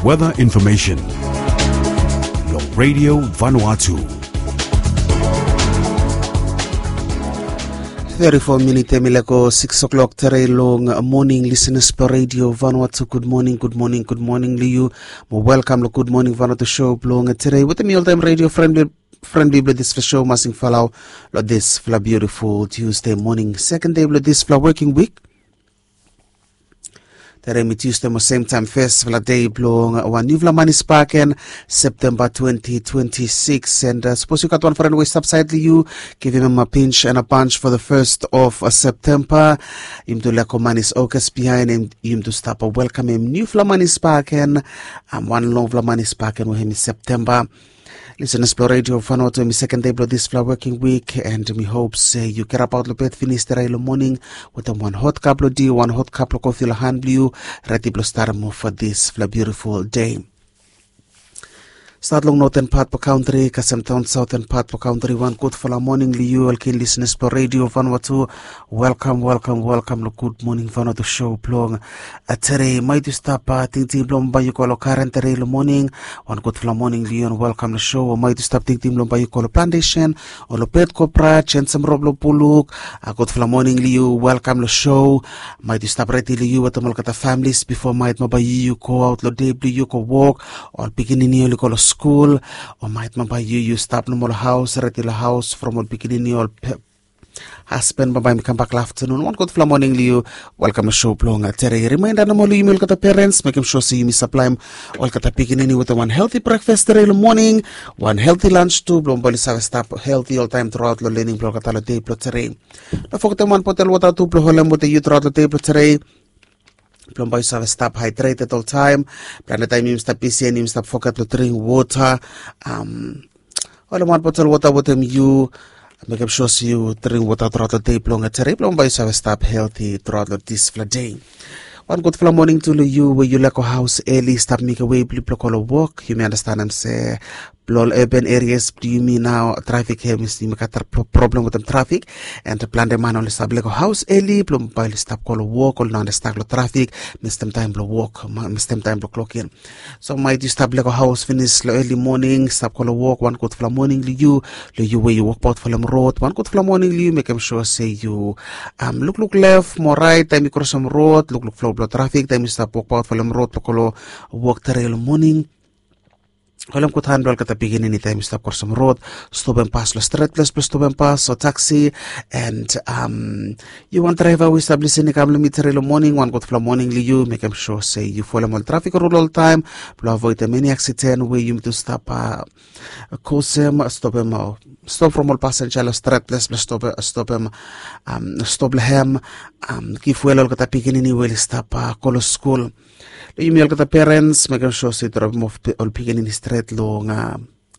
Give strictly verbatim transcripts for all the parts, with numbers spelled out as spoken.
Weather information long Radio Vanuatu. Thirty-four minit em i lego six o'clock tere long morning, listeners blong Radio Vanuatu. Good morning, good morning, good morning long yu. Mo welcome long Good Morning Vanuatu show blong tere wetem mi oltaem radio friend friendly blong disfala show, Masing Falau, long disfala beautiful Tuesday morning, second day blong disfala working week. Tere mi Tuesday mo same time firstfala day blong wan niufala manis baken, September twenty twenty-six. And uh, sapos yu gat wan friend we i stap sait long yu, givim em a pinch and a punch for the first of uh, September. Yum tu leko manis August behind, and yum tu stap welcome em niufala manis baken. Um, wan longfala manis baken we hem i September. Listeners blong Radio Vanuatu, em i second day blong disfala working week, and mi hope se yu kerapaot long bed finis tere long morning wetem wan hot cup blong tea, wan hot cup blong kofi long han blong yu, redi blong starem off for disfala beautiful day. Stat long northern part blong country kasem taon southern part blong country, wan gudfala morning long yu ol keen listeners blong Radio Vanuatu. Welcome, welcome, welcome long Good Morning Vanuatu show blong uh, tere. Maet yu stap uh, tingting blong bae yu go long karen tere long morning, wan gudfala morning long yu and welcome long show. O maet yu stap tingting blong bae yu go long plantation o long Pet Cobra, Jensen Rob long Buluk, a gudfala morning long yu, welcome long show. Maet yu stap redi long yu wetem olgeta families bifo maet mo bae yu yu go aot long dei blong yu go wok, ol pikinini oli go long skul, o maet mo bae yu yu stap nomo long haos, redi long haos from ol pikinini, ol pe- hasben bambae mi kambak long aftanun. Wan gudfala morning long yu. Welkam long show blong tere. Rimainda nomo long yumi olgeta perens, mekem sua se yumi saplaem olgeta pikinini wetem wan helti brekfas tere long moning, wan helti lans tu blong bae oli save stap helti oltaem truaot long lening blong olgeta long dei blong tere. No fogetem wan botel wota tu blong holem wetem yu truaot long dei blong tere blong bae yu save stap haedreted oltaem. Plante taem yumi stap bisi and yumi stap foget long dring wota. Holem wan botel wota wetem yu. Mekem sua se yu dring wota truaot long dei blong tere blong bae yu save stap helti truaot long disfala dei. Wan gudfala moning tu long yu we yu laek go haos eli, stap mekem wei blong yu blong go long wok. Yumi andastanem se blong ol urban areas blong yumi nao trafik hem, yumi gat problem wetem trafik. And plante man oli save laek go haos eli blong bae oli stap go long wok, oli no andastanem long trafik, mestem taem blong wok, mestem taem blong klokin. So maet yu stap laek go haos finis long eli moning stap go long wok, wan gudfala moning long yu. Long yu we yu wokbaot folem rod, wan gudfala moning long yu. Mekem sua se yu lukluk lef mo raet taem yu krosem rod, lukluk flo blong trafik taem yu stap wokbaot folem rod blong go long wok tere long moning. Holem gud han blong olgeta pikinini taem yu stap krosem rod, stopem pas long stret ples blong stopem pas o taksi. And yu wan draeva we yu stap lisin i kam long mi tere long moning, wan gudfala moning long yu. Mekem sua se yu folem ol trafik rul oltaem blong avoedem eni aksiden we yumi tu stap kosem, stopem, stop from ol pasenja long stret ples blong stopem, stop long hem. Givwe long olgeta pikinini we oli stap go long skul. Long yumi olgeta perens, mekem sua se yu dropem of ol pikinini stret long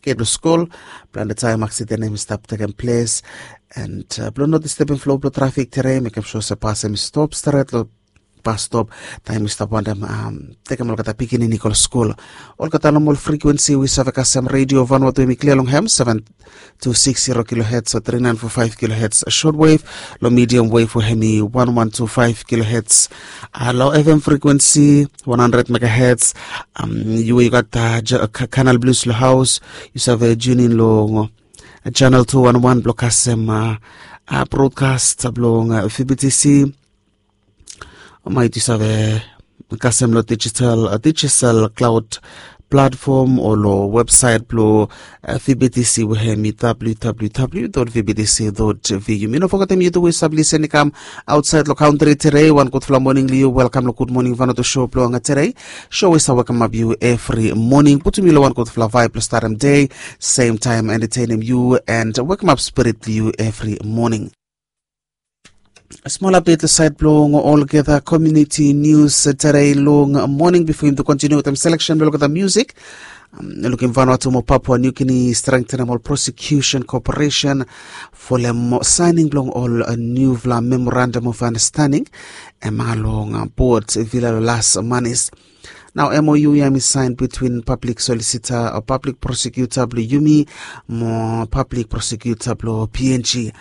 get long skul. Plante taem aksiden hem i stap tekem ples. And blong no distebem flo blong trafik tere, mekem sua se pas hem i stop stret long bas stop taem yu stap wantem tekem olgeta pikinini go long skul. Olgeta nomol frikuensi we yu save kasem redio Vanuatu we hem i klia long hem, seven two six zero kilohertz o three nine four five kilohertz shortwave, long medium wave we hem i one one two five kilohertz. Long F M frikuensi one hundred megahertz. Yu we yu gat Canal Plus long haos, yu save tune in long channel two one one blong kasem broadcast blong V B T C. Maet yu save kasem long digital, digital cloud platform o long websaet blong V B T C we hem i W W W dot V B T C dot V U. Mi no fogetem yu tu we yu save lisin i kam aotsaed long kantri tere. Wan gudfala moning long yu. Welkam long Gud Moning Vanuatu show blong tere. Show we save wekemap yu evri moning, putum yu long wan gudfala vaeb blong starem dei, sem taem entetenem yu and wekemap spirit blong yu evri moning. Smol apdet long saed blong olgeta komuniti nius tere long moning bifo yumi tu kontiniu wetem seleksen blong olgeta musik. Lukim Vanuatu mo Papua New Guinea strengtenem ol prosecution cooperation folem saening blong ol niufala memorandum of understanding. Hem long bod Vila long las manis. Nao mou ya em i saen between pablik solisita o pablik prosekuta blong yumi mo pablik prosekuta blong png.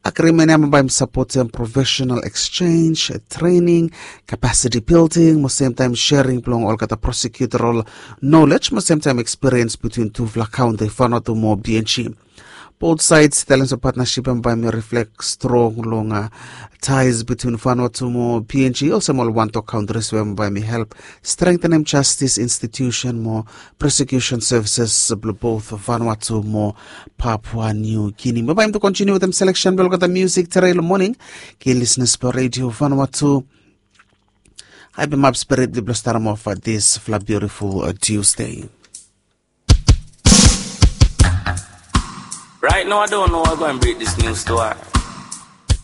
Agrimen ya em bai em sapotem profesenal eksenj, trening, kapasiti bilding mo semtaem sering blong olgeta prosekuta rol nolej mo semtaem ekspiriens between tufala kaonti fanatu mo png. Bot saed i talem se patnasip ya bai mi riflek strong long tais betwin fanatu mo png olsem ol wantok kauntris we bai mi help strengtenem jastis institusen mo prosekusen sevises blong bot fanatu mo papua niu gini mo bai mi tu kontiniu wetem seleksen blong olgeta musik tere long moning. Ken lisnes blong redio fanatu. Ai bemap spirit blong staram of disfala biutiful tusde. Right now, I don't know how I'm going to break this news to her.